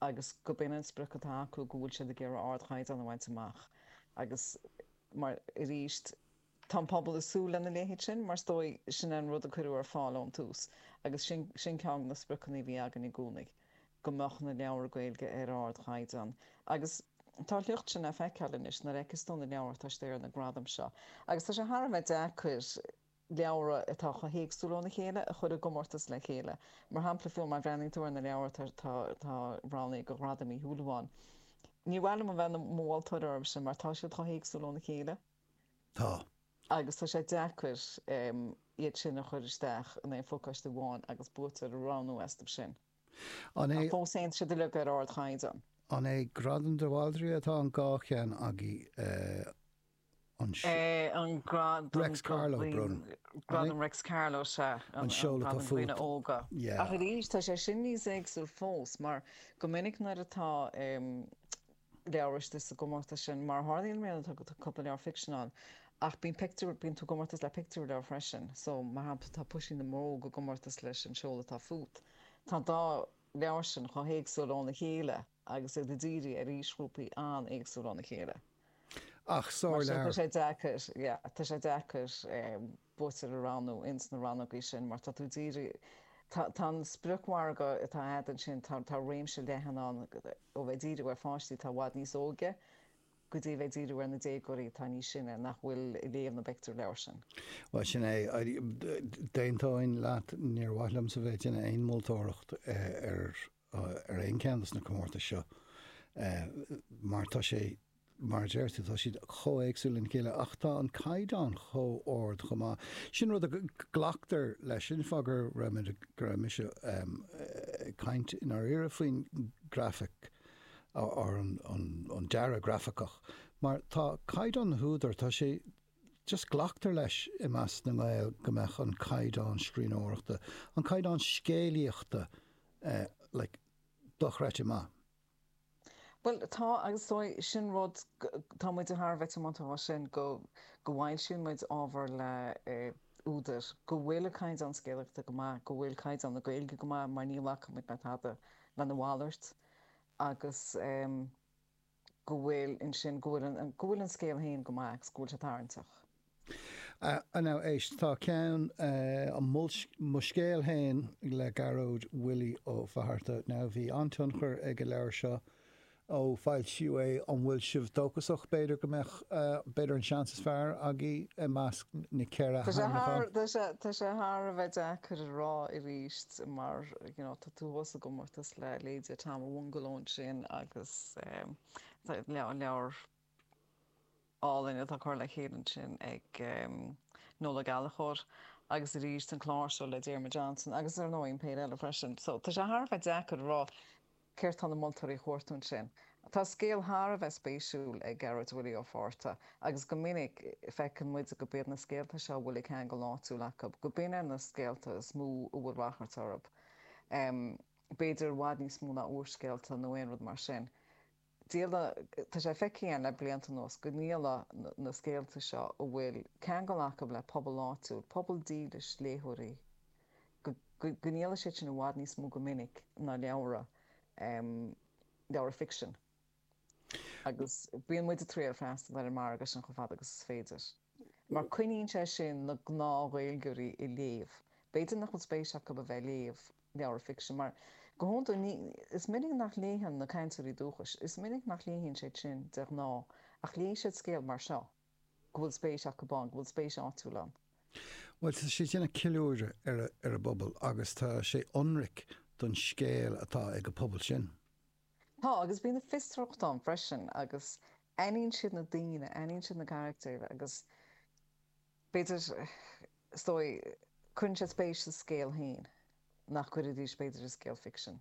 agus go b'in an sprioc atá acu, go bhfuil siad ag iarraidh ardchaighdeán a bhaint amach agus mar, arís, tá an pobal ag súil lena leithéid sin mar is dóigh sin an rud a cuireadh ar fáil ón tús agus sin, sin ceann de na spriocanna a bhí againn i gcónaí, go mbeadh na leabhair Gaeilge ar ardchaighdeán agus tá a shliocht sin le feiceáil anois nuair a fheiceas tú na leabhair atá istigh ar na gradaim seo agus tá sé thar a bheith deacair leabhra atá chomh héagsúil óna chéile a chur i gcomórtas le chéile. Mar shampla, fiú má bhreathnaíonn tú ar na leabhair atá roghnaithe do Ghradam Uí Shúilleabháin, ní mhaith liom a bheith i mo mholtóir orthu sin mar tá siad chomh héagsúil óna chéile. Tá. Agus tá sé deacair iad sin a chur isteach in aon phacáiste amháin agus buaiteoir a roghnú astu sin. An é. Ach fós féin, tá siad uilig ar ardchaighdeán. An é Gradam de Bhaldraithe atá an 2 cheann agaibh? An An Gradam Reics Carló, brón. Gradam Reics Carló, sea. An Seol Atá Gradam Dhaoine Fút. Óga. Yeah. Ach arís, tá sé sin níos éagsúil fós, mar go minic nuair atá leabhar istigh sa gcomórtas sin, mar a tharlaíonn i mbliana, tá cúpla leabhar ficsin ann, ach bíonn pictiúr, bíonn tú i gcomórtas le pictiúrleabhar freisin. So, mar shampla, tá Puisín na mBróg i gcomórtas leis An Seol Atá Fút. Tá an dá leabhar sin chomh héagsúil óna chéile agus iad ag díriú ar aoisghrúpaí an-éagsúil óna chéile. Ach Mar sin, tá sárleabhar. sé deacair, yeah, tá sé deacair buaiteoir a roghnú ins na rannógaí sin mar tá tú ag díriú, tá, tá an spriocmhargadh atá a'd ansin, tá, tá réimse leathan ann ó bheith ag díriú ar pháistí atá i bhfad níos óige go dtí a bheith ag díriú ar na déagóirí atá níos sine nach bhfuil ag léamh na bpictiúrleabhar sin. Bhuel, sin é. D'aontóinn leat, níor mhaith liomsa bheith ag déanamh aon mholtóireacht ar ar aon cheann de na comórtais seo mar tá sé, mar a deir tú, tá siad chomh éagsúil lena chéile ach tá an caighdeán chomh ard chomh maith. Sin rud a glactar leis, sin fáth go raibh muid, go raibh mise ag caint i ndáiríre faoin grafaic or an dearadh grafaiceach mar tá caighdeán na húdar, tá sé, just glactar leis i measc na nGael go mbeadh an caighdeán scríbhneoireachta, an caighdeán scéalaíochta like dochreidte maith. Bhuel, tá, agus is dóigh, sin rud, tá muid thar a bheith tiomanta dhó sin, go, go bhfoilsíonn muid ábhar le údair, go bhfuil a caighdeán scéalaíochta go maith, go bhfuil caighdeán na Gaeilge go maith, mar ní ghlacann muid le tada lena mhalairt, agus go bhfuil ansin, go bhfuil an, go bhfuil an scéal féin go maith agus go bhfuil sé tarraingteach. Now éist, tá ceann, Mo Scéal Féin le Gearóid Willie Ó Fatharta. Now bhí an-tionchar ag an leabhar seo ó foilsíodh é. An bhfuil sibh dóchasach b'fhéidir go mbeadh, b'fhéidir an seans is fearr agaibh i measc na 4 hainmniúchán? Tá sé, tá sé thar a bheith deacair a rá arís mar, you know, tá tú thuas i gcomórtas le leithéidí Tom an Bhungaló ansin agus leabhar álainn atá curtha le chéile ansin ag Noel Ó Gallchóir agus arís an clár seo le Diarmuid Johnson agus ar ndóigh an péire eile freisin. So tá sé thar a bheith deacair a rá céard tá na moltóirí a chuartú ansin. Tá scéal thar a bheith spéisiúil ag Gearóid Willie Ó Fátharta agus go minic feiceann muid go b'iad na scéalta seo a bhfuil an ceangal áitiúil acu, go b'in na scéalta is mó a bhfuil ráchairt orthu. B'fhéidir i bhfad níos mó ná úrscéalta nó aon rud mar sin. Díolann, tá sé feicthe againn le blianta anuas go ndíolann na scéalta seo a bhfuil ceangal acu le pobal áitiúil, pobal dílis léitheoirí, go ndíolann siad sin i bhfad níos mó go minic ná leabhra, leabhra ficsin. Agus bíonn muid ag triail freastal ar an margadh sin chomh fada agus is féidir. Mar coinníonn sé sin na gnáth-Ghaeilgeoirí ag léamh. B'fhéidir nach bhfuil spéis acu a bheith ag léamh leabhar ficsin mar, go hiondúil, ní, is minic nach léigheann na cainteoirí dúchais, is minic nach léigheann siad sin de ghnáth, ach léifidh siad scéal mar seo, go bhfuil spéis acu ann, go bhfuil spéis áitiúil ann. Bhuel, tá sé ag déanamh ceiliúradh ar a, ar a bpobal agus tá sé ionraic don scéal atá ag an pobal sin. Tá, agus bíonn an fiosracht ann freisin agus aithníonn siad na daoine, aithníonn siad na carachtair agus b'fhéidir, is dóigh, cuireann siad spéis sa scéal féin nach gcuirfidís, b'fhéidir, i scéal ficsin.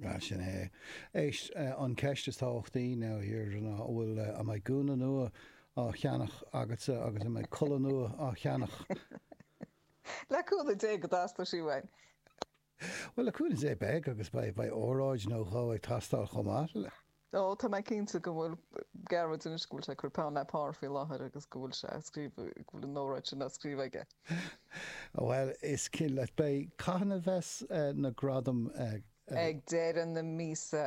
Ah, sin é. Éist, an ceist is tábhachtaí now, a Dheirdre, ná an bhfuil, an mbeidh gúna nua á cheannach agatsa agus an mbeidh culaith nua á cheannach? Le cúnamh Dé go dteastóidh sí uainn. Bhuel, le cúnamh Dé beidh agus beidh beidh óráid nó dhó ag teastáil chomh maith. Ó, tá mé cinnte go bhfuil Gearóid anois, go bhfuil sé ag cur peann le pár faoi láthair agus go bhfuil sé ag scríobh, go bhfuil an óráid sin á scríobh aige. Bhuel, is cinnte, beidh, cathain a bheas na gradaim? Ag deireadh na míosa.